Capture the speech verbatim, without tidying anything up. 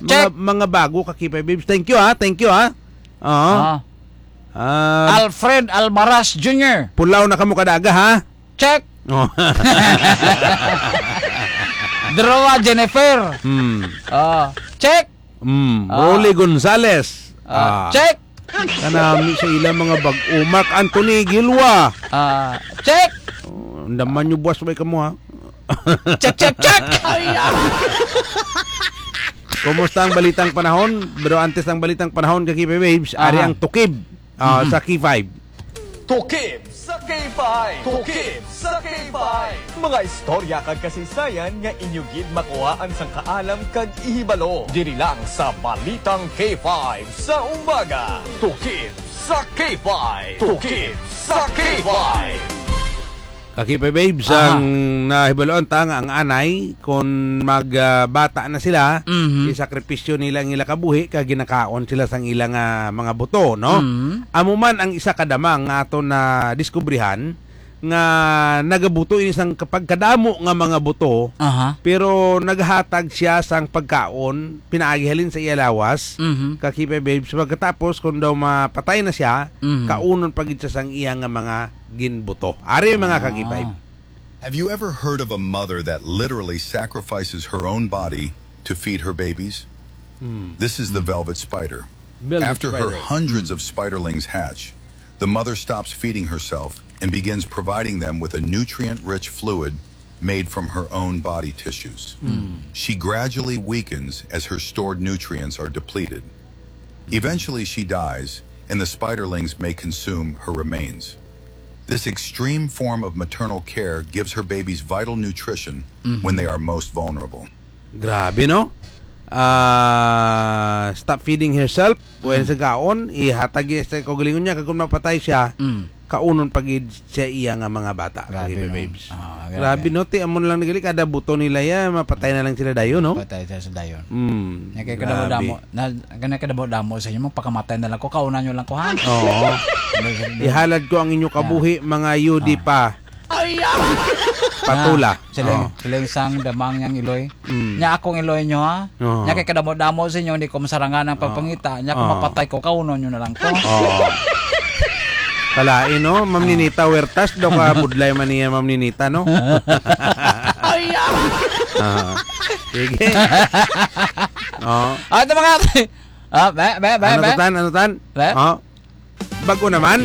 Mga, check. Mga bago ka K five Babes. Thank you, ha. Thank you, ha. Oo. Ah. Ah, Alfred Almaraz Junior. Pulaw na kamo kadaga, ha. Check. Oh. Droa Jennifer. Hmm. Ah, check. Mm, ah. Rolly Gonzalez. Ah, ah, check. Kanami sa ila mga bag-o. Mark Anthony Gilwa. Ah, check. Oh, andaman nyo, buwas, may kamo, ha? Check, check, check. Ay, ah. Kumusta ang balitang panahon? Pero antes ng balitang panahon, ka K five Babes, ari, aha, ang tukib, ah, mhm, sa K five. Tukib sa K five! Tukib sa K five! Mga istorya kag kasaysayan nga inyo gid makuhaan sang kaalam kag ihibalo diri lang sa Balitang K five sa Umaga. Tukib sa K five! Tukib sa K five! Ka K five Babes, aha, ang nahibaluan ta nga ang anay, kung mag, ah, bata na sila, mhm, isakripisyo nila ang ila kabuhi, kag ginakaon sila sang ilang, ah, mga buto, no? Mhm. Amo man ang isa ka damang nga aton nadiskubrihan nga nagabuto ini sang kapagkadamo nga mga buto, aha, pero naghatag siya sang pagkaon pinaagi halin sa iya lawas, mhm, ka K five Babes. Pagkatapos, kung daw mapatay na siya, mhm, kaunon pa gid siya sang iya nga mga ginbuto. Ari, mga ka K five. Ah. Have you ever heard of a mother that literally sacrifices her own body to feed her babies? Hmm. This is the velvet spider. Velvet spider. After her hundreds of spiderlings hatch, the mother stops feeding herself and begins providing them with a nutrient-rich fluid made from her own body tissues. Hmm. She gradually weakens as her stored nutrients are depleted. Eventually, she dies, and the spiderlings may consume her remains. This extreme form of maternal care gives her babies vital nutrition when they are most vulnerable. Grabe, no? Ah, stop feeding herself. When, mm, sa gaon, ihatag iya sa kaugalingon niya, kag kung mapatay siya, mm, kaunon pa gid siya iya nga mga bata, grabe, ka K five Babes. Ah, grabe, grabe, no? Ti, amo na lang nagali, kada buto nila ya, mapatay na lang sila dayon, no? Patay sila sa dayon. Mm, nya kay kadamo-damo, grabe, na, kana kadamo-damo sa inyo, magpakamatay na lang ko, kaunan nyo lang ko, ha? Oo. Ihalad ko ang inyo kabuhi, mga yudi pa. Ay, ah! Patula. Na, siling, oh, siling sang damang yang iloy. Mm. Nya akong iloy nyo, ha? Oo. Nya kay kadamo-damo sa inyo, hindi ko masarangan ang, oo, pagpangita. Nya kung, oo, mapatay ko, kaunon nyo na lang ko. Oo. Kalain, no? Ma'am, ah, Ninita Huertas, daw ka budlay man niya, Ma'am Ninita, no? Ay, ah! Ah. Sige. Oh. Ah, ito mga, ah, be, be, be, ano be? To, Tan? Ano, Tan? Be? Oh. Bago naman?